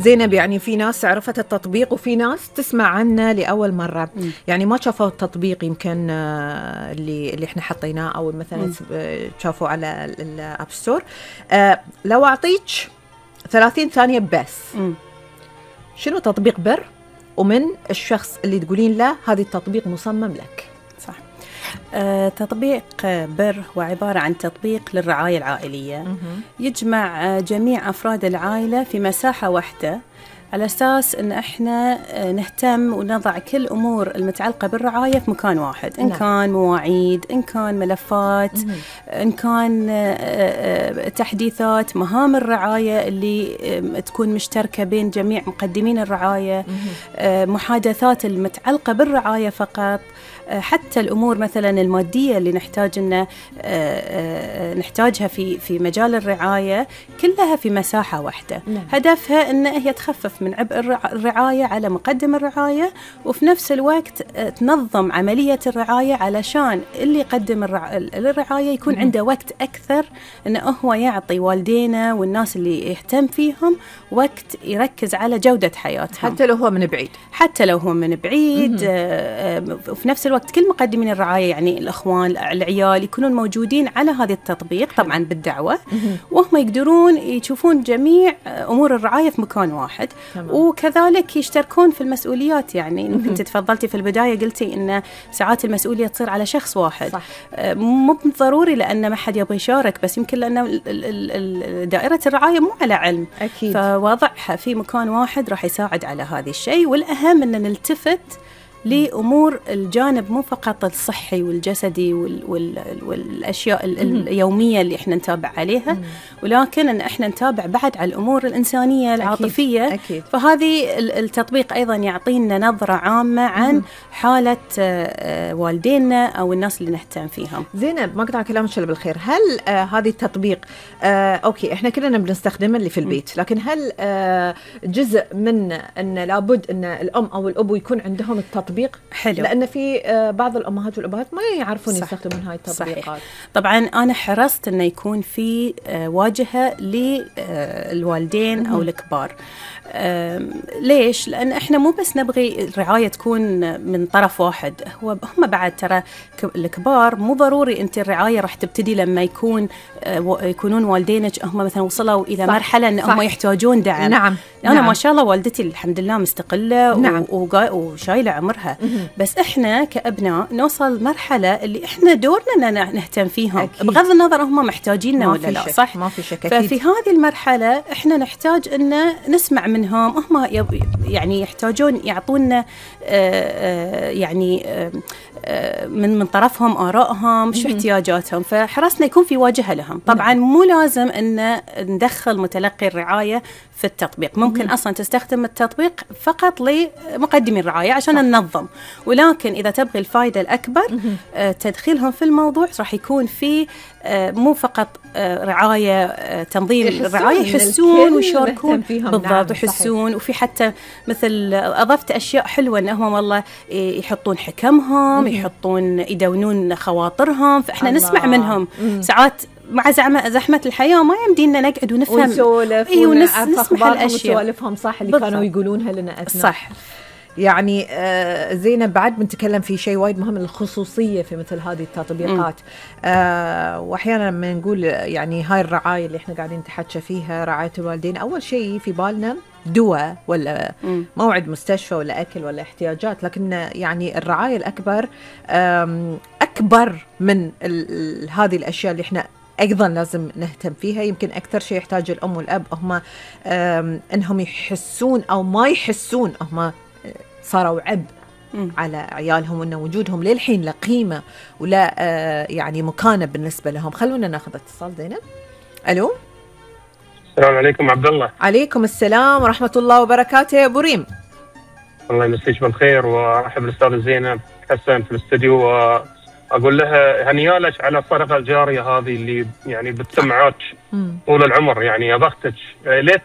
زينب، يعني في ناس عرفت التطبيق وفي ناس تسمع عنه لأول مرة، يعني ما شافوا التطبيق يمكن اللي احنا حطيناه أو مثلا شافوا على الأب ستور. لو أعطيك 30 ثانية بس، شنو تطبيق بر ومن الشخص اللي تقولين له هذا التطبيق مصمم لك؟ صح. تطبيق بر هو عبارة عن تطبيق للرعاية العائلية، يجمع جميع أفراد العائلة في مساحة واحدة، على أساس أن إحنا نهتم ونضع كل أمور المتعلقة بالرعاية في مكان واحد. إن كان مواعيد، إن كان ملفات، إن كان تحديثات مهام الرعاية اللي تكون مشتركة بين جميع مقدمين الرعاية، محادثات المتعلقة بالرعاية فقط، حتى الأمور مثلا المادية اللي نحتاجها في مجال الرعاية، كلها في مساحة واحدة. هدفها أن هي تخفف من عبء الرعاية على مقدم الرعاية، وفي نفس الوقت تنظم عملية الرعاية علشان اللي يقدم الرعاية يكون عنده وقت أكثر أنه هو يعطي والدينا والناس اللي يهتم فيهم وقت يركز على جودة حياتهم، حتى لو هو من بعيد. وفي نفس الوقت كل مقدمين الرعاية، يعني الأخوان العيال، يكونون موجودين على هذا التطبيق طبعا بالدعوة، وهم يقدرون يشوفون جميع أمور الرعاية في مكان واحد. وكذلك يشتركون في المسؤوليات، يعني أنت تفضلتي في البداية قلتي إن ساعات المسؤولية تصير على شخص واحد. صح. مو ضروري لأن ما حد يبغى يشارك، بس يمكن لأن دائرة الرعاية مو على علم. أكيد. فوضعها في مكان واحد راح يساعد على هذا الشيء. والأهم أن نلتفت لأمور الجانب مو فقط الصحي والجسدي والأشياء اليومية اللي إحنا نتابع عليها، ولكن أن إحنا نتابع بعد على الأمور الإنسانية العاطفية. أكيد. فهذه التطبيق أيضا يعطينا نظرة عامة عن حالة والدينا أو الناس اللي نهتم فيهم. زينب، ما قطع كلامك إلا بالخير، هل هذه التطبيق أوكي إحنا كلنا بنستخدمه اللي في البيت، لكن هل جزء من أن لابد أن الأم أو الأب يكون عندهم التطبيق؟ حلو. لأن في بعض الأمهات والأبهات ما يعرفون يستخدمون هاي التطبيقات. صحيح. طبعا أنا حرصت أنه يكون في واجهة للوالدين أو الكبار. ليش؟ لأن إحنا مو بس نبغي الرعاية تكون من طرف واحد، هم بعد ترى الكبار مو ضروري أنت الرعاية راح تبتدي لما يكونون والدينك هم مثلا وصلوا إلى مرحلة أن هم يحتاجون دعم. نعم. أنا ما شاء الله والدتي الحمد لله مستقلة. نعم. وشايلة عمرها. بس إحنا كأبناء نوصل مرحلة اللي إحنا دورنا أن نهتم فيهم. أكيد. بغض النظر هم محتاجيننا ولا لا. صح؟ ما في شك. ففي هذه المرحلة إحنا نحتاج أن نسمع منهم، هم يعني يحتاجون يعطونا يعني من طرفهم آرائهم، شو احتياجاتهم، فحرصنا يكون في واجهة لهم. طبعا مو لازم أن ندخل متلقي الرعاية في التطبيق، ممكن أصلا تستخدم التطبيق فقط لمقدمي الرعاية عشان ننظم، ولكن إذا تبغي الفائدة الأكبر تدخيلهم في الموضوع راح يكون في مو فقط رعاية تنظيم الرعاية، يحسون ويشاركون بالضبط ويحسون. وفي حتى مثل أضفت أشياء حلوة أنهم والله يحطون حكمهم، يحطون يدونون خواطرهم، فإحنا نسمع منهم. ساعات مع زحمة الحياة ما يمدينا نقعد ونفهم ونسولف ونسمع الأشياء وسوالفهم صح اللي كانوا يقولونها لنا أثناء. صح. يعني زينب، بعد بنتكلم في شيء وايد مهم، الخصوصية في مثل هذه التطبيقات. وأحيانا لما نقول يعني هاي الرعاية اللي احنا قاعدين نتحكى فيها، رعاية الوالدين، أول شيء في بالنا دواء ولا موعد مستشفى ولا أكل ولا احتياجات، لكن يعني الرعاية الأكبر أكبر من هذه الأشياء اللي احنا أيضا لازم نهتم فيها. يمكن أكثر شيء يحتاج الأم والأب هم أنهم يحسون أو ما يحسون هم صاروا عبء على عيالهم، وأن وجودهم للحين لا قيمة ولا يعني مكانة بالنسبة لهم. خلونا ناخذ اتصال. زينب، ألو. السلام عليكم عبد الله. عليكم السلام ورحمة الله وبركاته يا أبو ريم. الله يمسيك بالخير، وأرحب بالأستاذ زينب حسن في الاستديو، وأقول لها هنيالك على الصدقة الجارية هذه اللي يعني بتسمعك طول العمر، يعني يا بختك. ليه